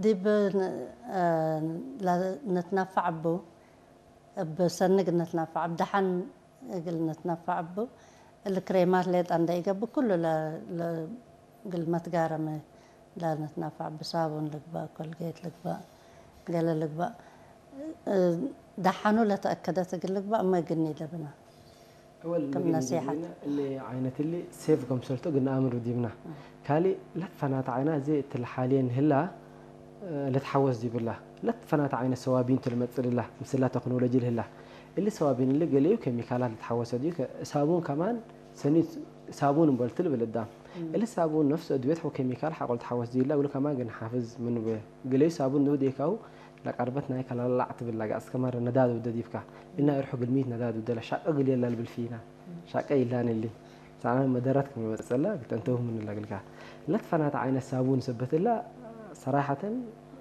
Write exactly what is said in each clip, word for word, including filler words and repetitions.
ዲብ ን-፣ ለንትነፈዕ እቡ፣ እብ ሰኒ እግል ንትነፈዕ፣ እብ ደሐን እግል ንትነፈዕ እቡ፣ እሊ ክሬማት ሌጠ እንዴ ኢገብእ፣ ኩሉ ለ-፣ ለ-፣ እግል መትጋረመ ለንትነፈዕ እቡ፣ ሳቡን ልግበእ፣ ኮልጌት ልግበእ፣ ገሌ ልግበእ፣ ደሐኑ ለተአከደት እግል ልግበእ፣ እመ እግል ኒደብና። እወል ክም ምግል ነሲሐት። ዲብነ እሊ ዓይነት እሊ ሴፍ ክምሰልቱ እግል ነአምር ዲብና። እም። ካልእ ለትፈናተ ዓይና እዚ እትለ ሓልየን ህላ፣ እ፣ ልትሐወስ ዲብላ። ለትፈናተ ዓይነ ሰዋቢን ቱ ልመጽእ ልላ፣ ምስላ ተክኖሎጂ ልህላ። እሊ ሰዋቢን እሊ ገሌዩ ኬሚካላት ልትሐወሰ ዲዩ፣ ከ-፣ ሳቡን ከማን ሰኒ ሳቡን እምበል ቱ ልብል እዳም። እም። እሊ ሳቡን ነፍሱ እድቤት ሐው ኬሚካል ሐቆ ልትሐወስ ዲላ፣ እግሉ ከማን ግን ሓፍዝ ምኑ በ። ገሌዩ ሳቡን ንቡ ዴካሁ ለቀርበት ናይ ከለላዕ ትብል ለገአስከ መረ ነዳድ ውደ ዲብካ። እና እርሑ ግልሚት ነዳድ ውደ ለሻቀ እግል የለ ልብል ፊና። ሻቀ ኢላን እሊ። ሳዕናን መደረት ክም መጸላ እግል ተንተሁ ምን ለግልካ። ለትፈናተ ዓይነ ሳቡን ሰበት እላ ሰራሐተን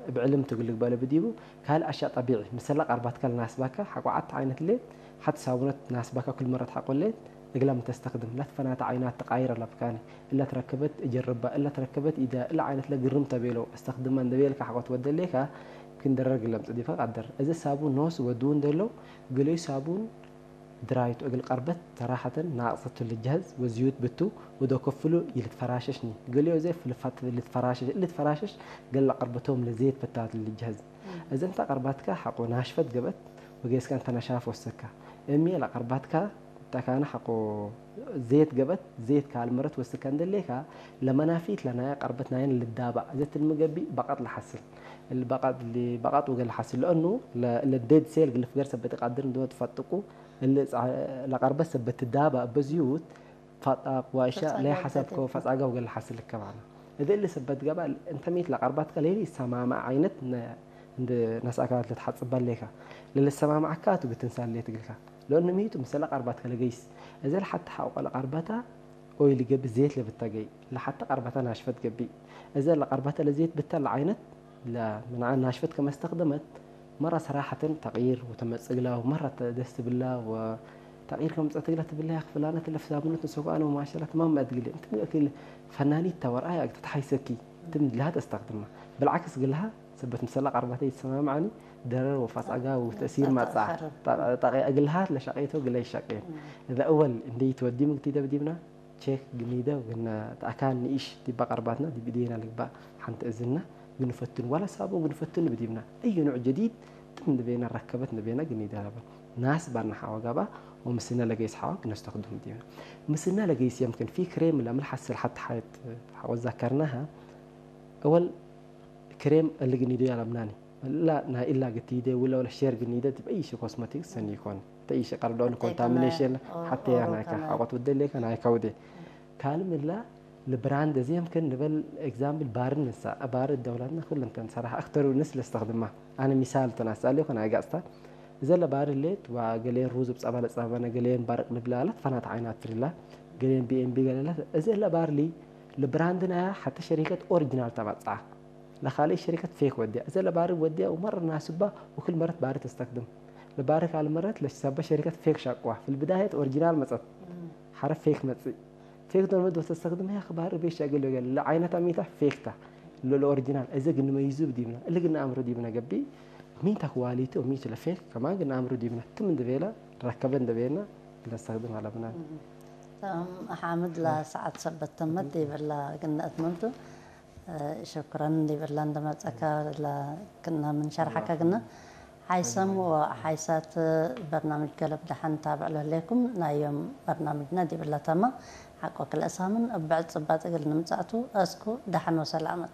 እብ ዕልም ትግል ልግበእ ለብዲቡ። ካልእ አሽያእ ጠቢዒ። ምሰለ ቀርባትካ ለናስባካ ሐቆ ዐት ዓይነት ሌት ሐቲ ሳቡነት ናስባካ ኩል መረት ሐቆ ሌት እግላ ምን ተስተክድም። ለትፈናተ ዓይናት ተቃይር አለብካኒ። እለ ትረከበት እጀርባ፣ እለ ትረከበት ኢዳ፣ እለ ዓይነት ለግርም ተቤለው፣ አስተክድማ እንደ ቤልካ ሐቆ ትወደሌካ፣ ክም ደረር እግል ለምጽእ ዲብካ ቀድር። እዘ ሳቡን ኖስ ወድዉ እንደለው፣ ገሌዩ ሳቡን ድራይቱ እግል ቀርበት ሰራሐተን ናቅጸቱ ልጀህዝ ወዝዩት ብቱ ወዶ ክፍሉ ይልትፈራሸሽኒ። ገሌዩ እዘ ፍልፋት ልትፈራሸሽ፣ ልትፈራሸሽ ገሌ ለቀርበቶም ለዜት በታት ልጀህዝ። እዘ እንተ ቀርባትካ ሐቆ ናሽፈት ገበት ወጌስካ እንተ ነሻፍ ወሰካ። እሚ ለቀርባትካ ተካነ ሐቆ ዜት ገበት፣ ዜት ካልመረት ወስከ እንደሌካ፣ ለመናፊት ለናየ ቀርበት ናይን ልዳባእ፣ እዘ ትልሚ ገቢእ በቀጥ ለሐስል። እል በቀጥ ሊ-፣ በቀጥ ወገ ለሐስል፣ ለእኑ ለ-፣ ለዴድ ሴል ግልፍ ገርሰ በቲ ቃድር እንዶ ትፈጥቁ፣ እል ጸ-፣ ለቀርበት ሰበት ትዳባእ በዝዩት፣ ፈጣቅ ዋሻ ፈጻጋ ለሐሰብከው ወገ ፈጻጋ ወገ ለሐስል ልከባና። እዘ እሊ ሰበት ገባ፣ እንተ ሚት ለቀርባትከ ሌሊ ይሰማማዕ ዓይነት ነ-፣ እንደ ነስአካ ለትሐጽበ ሌካ። ለልሰማማዕካ ቱ ብትንሳል ሌት እግልካ። ለእኑ ሚቱ ምሰለ ቀርባትከ ለገይስ። እዘ ለሐተ ሐቆ ለቀርበታ ኦይ ልገብእ ዜት ለብተገይ። ለሐተ ቀርበታ ናሽፈት ገቢእ። እዘ ለቀርበታ ለዜት ብተ ለዓይነት ለምንዓ ናሽፈት ከመ እስተክደመት፣ መረ ሰራሐተን ተቅይር ወተመጽእግላ ወመረ ደስ ትብላ ወተቅይር ከመጽአትግላ ትብላ፣ ያክ ፍላነት ለፍሳምነት ንሰኩ አነ ወማሸላት ማም አድግሌ። እንትን እክል ፈናኒት ተወርአያ እግል ተትሐይሰኪ ትም ለሃ ተስተክድማ። ብልዓክስ እግልሃ ሰበት ምሰላ ቀርባተ ይትሰማምዓኒ፣ ደረር ወፋጻጋ ወተእሲር ማጻ። ጠ-፣ ጠ-፣ እግልሃ ለሸቄቶ እግለ ይሸቄን። እም። እዘ እወል እንዴ ይትወዲ ምግቲ ደብዲብና፣ ቼክ ግኒደ ግነ ተአካን ንኢሽ ዲበ ቀርባትና ዲብ እዴና ልግባእ ሐንተ እዝና ግንፈትን ወላ ሳቡን ግንፈትን ብዲብና። እዩ ኑዕ ጀዲድ ትም ንቤና ረከበት ንቤና ግኒደ ለበ። ናስ ባና ሐዋ ጋባ ወምስነ ለገይስ ሐዋ ግነስተክዱም ዲብና። ምስነ ለገይስ የምክን ፊ ክሬም ለምን ሐስል ሐት ሐየት ሐወ ዛከርናሃ። እወል ክሬም እሊ ግኒዶ ያለምናኒ። እላ ናይ እላ ግቲደ ውለ ወለ ሼር ግኒደ ዲብ አይ ሺ ኮስሞቲክስ ሰኒ ኢኮን። እተ አይ ሺ ቀርዶን ሐቴ ኮንታሚኔሽን ከነ ኦ-፣ ሐቴ ኦሮ ያናይከ ከነ ሐቆት ውደ ሌከ ናይከ ውዴ። ካልም እላ ለብራንድ እዚ የምክን ንበል ኤግዛምፕል ባርን ንሳ፣ ባር ደውላትና ኩሉ እንተን ሰራህ አክተሩ ንስ ለስተኽድማ። አነ ሚሳል ተናሳሊ ኮን አይጋጽታ። እዘ ለባር ሌት ወገሌን ሩዝ ብጸባ ለጸባነ ገሌን ባርቅ ንብላ ለት ፈናት ዓይናት ትርላ ገሌን ቢ ኤም ቢ ገለለት። እዘ ለባር ሊ ለብራንድና ሐተ ሸሪከት ኦሪጂናል ተመጽአ። ለካልእ ሸሪከት ፌክ ወድያ። እዘ ለባሪ ወድያ ወመረ ናስባ ወክል መረት ባሪ ተስተክድም። ለባሪ ካል መረት ለሰበ ሸሪከት ፌክ ሻቅዋ። ፊልብዳየት ኦሪጂናል መጸት። እም። ሐረ ፌክ መጽእ። ፌክ ዶል መዶ ተስተክድም ያክ ባሪ ቤት ሻቅል ወገል። ለዓይነት አሚታ ፌክ ታ። ለ-፣ ለኦሪጂናል። እዘ ግን መይዙ ብዲብና። እሊ ግን አምሮ ዲብና ገቢ። ሚን ታ ኳሊቲ ወሚን ቱ ለፌክ ከማን ግን አምሮ ዲብና። ትም እንደ ቤላ፣ ረከበ እንደ ቤና፣ ለስተክድም አለብና። እም። ተም ሐምድ ለሰዓት ሰበት ተመት ይበላ ግን አትመምቱ። ሸኩረን እንዴ ብላ እንደ መጸካ ለክና ምን ሸርሐከ ግና፣ ሐይሰም ወሐይሳት በርናምጅ ገለብ ደሐን ታብዕ ለህሌኩም። ናይ ዮም በርናምጅና ዲብላ ተማ። ሐቆ ክልኤ ሳምን እብ ብዕድ ጽባጥ እግል ንምጻእቱ፣ አስኩ ደሐን ወሰላመት።